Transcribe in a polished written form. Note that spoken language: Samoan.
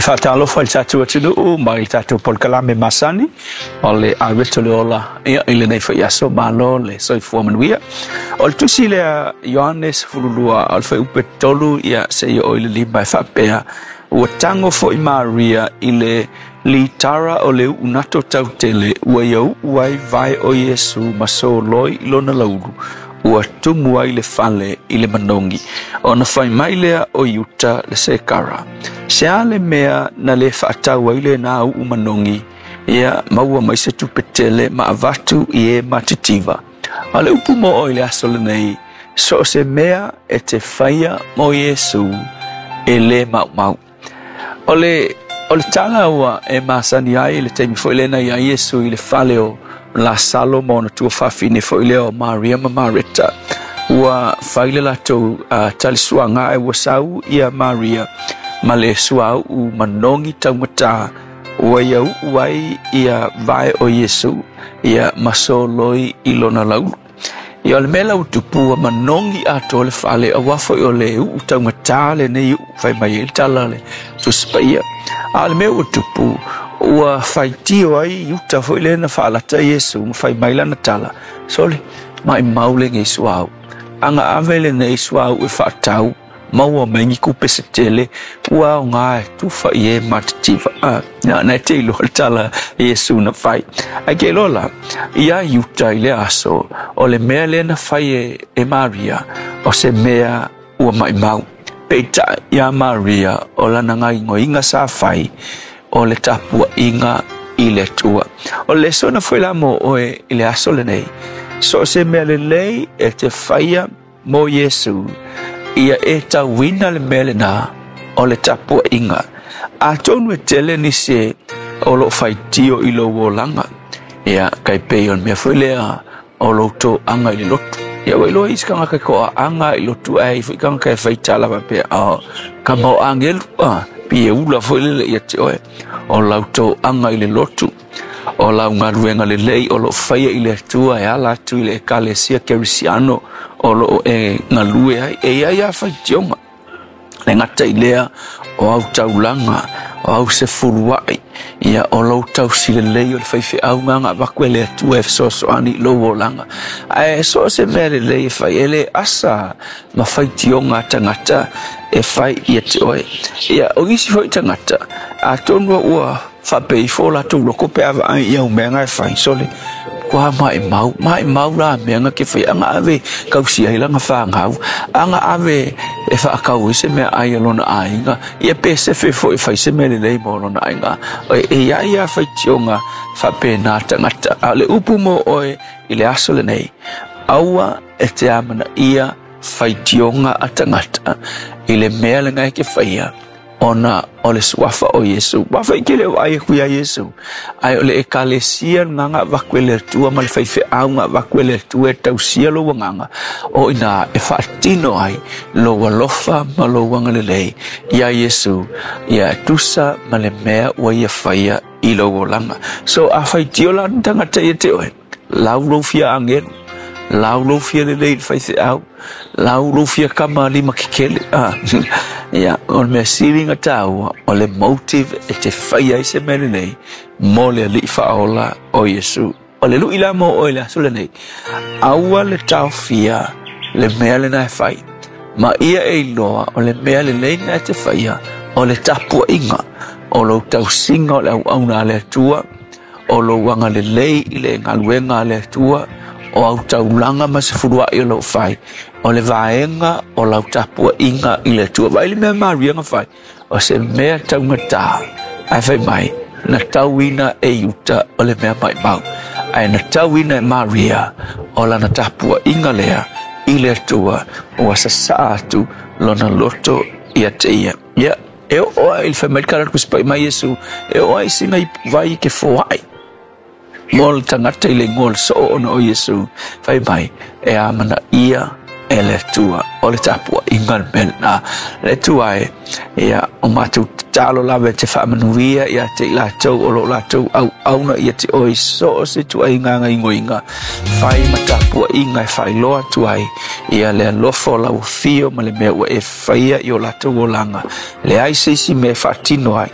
Faatalofa i le tatou atunuu mai le tatou polokalame masani o le Aiweto le Ola, ia, i lenei foi aso, malo le soifua manuia. O le tusi lea Ioane 12 o le fuaiupu 3, ia, seia oo i le 5 e faapea, ua tago foi Maria i le litara o le uu nato tautele ua ia uu ai vae o Iesu ma soloi i lona laulu, ua tumu ai le fale i le manogi. Ona fai mai lea o Iuta le Sekara, se a le mea na le faatau ai lenā uu manogi, ia maua mai se tupe tele ma avatu i e matitiva. A o le upu mo oe i le aso lenei, so o se mea e te faia mo Iesu e le maumau. O le tala ua e masani ai i le taimi foi lea na i ai Iesu i le fale o Lasalo ma ona tuafafine foi lea o Maria ma Mareta. Ua fai le latou talisuaga ae ua sau ia Maria ma le suauu manogi taugata ua ia uu ai ia vae o Iesu, ia, ma soloi i lona laulu. Ia, o le mea la ua tupu, ua manogi atoa le fale, auā foi o le uu taugatā lenei uu, fai mai ai le tala le Tusi Paia. A o le mea ua tupu, ua faitio ai Iuta foi lea na faalata Iesu ma fai mai lana tala, sole, maumau lenei suauu. Aga ave lenei suauu e faatau, maua mai ni tupe se tele ua aoga e tufa i e matitiva. Ah, na e te iloa le tala Iesu na fai. Ae ke iloa la, iā Iuta i le aso, o le mea lea na fai e Maria, o se mea ua maumau. Peitai iā Maria, o lana gaoioiga sa fai, o le tapuaiga i le Atua. O le lesona foi la mo oe i le aso lenei, so o se mea lelei e te faia mo Iesu, ia e tauina le mea lenā o le tapuaiga. Atonu e tele nisi o loo faitio i lou olaga, ia, kai pei o le mea foi lea o lou toaga i le lotu. Ia, ua iloa isi tagata e toaaga i lotu, ae foi tagata e faitala faapea, o kama o agelu, a pei e ula foi lele ia te oe. O lau toaga i le lotu, o lau galuega lelei o loo faia i le Atua e ala atu i le Ekalesia Kerisiano o loo e galue ai, e iai a faitioga. Le gata i lea o au taulaga, o au sefuluai, ia, o lou tausi lelei o le faifeau ga avatu e le Atua e fesoasoani i lou olaga. Ae so o se mea lelei e fai, e le asa ma faitioga a tagata e fai ia te oe. Ia, o nisi foi tagata, atonu ua faapea ifo latou loko pe a vaai i au mea e fai, sole, kua maumau, maumau la mea na ke fai, aga ave kausi ai lana fanau, aga ave e faatau ai se mea ai a lona aiga, ia pe sefe foi e fai se mea lelei mo lona aiga. E iai a faitioga faapena tagata. A o le upu mo oe i le aso lenei, aua e te amanaia faitioga a tagata i le mea lena e ke faia ona o le suafa o Iesu. Wafa i kele o ai ku ia Iesu. Ae o le ekalesia nganga avatu e le Atua ma le faifeau nga avatu e le Atua e tausia lou agaga. O ina e faatino ai lou alofa ma lou agalelei ia Iesu. Ia tusa ma le mea ua ia faia i lou olaga. So a faitio la tagata ia te oe, lau lou fia agelu, lau lou fia lelei i le faifeau, lau lou fia kama lima kekele. Ah, ia, o le mea sili na tāua, o le motive e te fai ai se mea lelei mo le Alii faaola o Iesu. O le lui la mo oe le aso lenei, aua le taofia le mea lena e fai. Ma ia e iloa o le mea lelei na e te faia, o le tapuaiga, o lou tausiga o le auauna a le Atua, o lou agalelei i le galuega a le Atua, o au taulaga ma sefuluai o lou fai, o le vaega o lau tapuaiga i le Atua. Vaai le mea Maria na fai, o se mea taugatā, ae fai mai, na tauina e Iuta o le mea maumau. Ae na tauina e Maria o lana tapuaiga lea i le Atua ua sasaa atu lona loto ia te ia. Ia, e oo ai le fai mai le tala Tusi Paia mai Iesu, e oo ai sina ipuvai ke foai mo le tagata i le igoa o le soo ona o Iesu, fai mai, e amanaia e le Atua. O le tapuaiga le mea lenā. Le Atua e, ia, o matou tatalo lava e te faamanuia ia te i latou o loo latou auauna ia te oe i so o se ituaiga gaoioiga fai ma tapuaiga e faailoa atu ai ia le alofa o lau afio ma le mea ua e faia i o latou olaga. Leai se isi mea e faatino ai.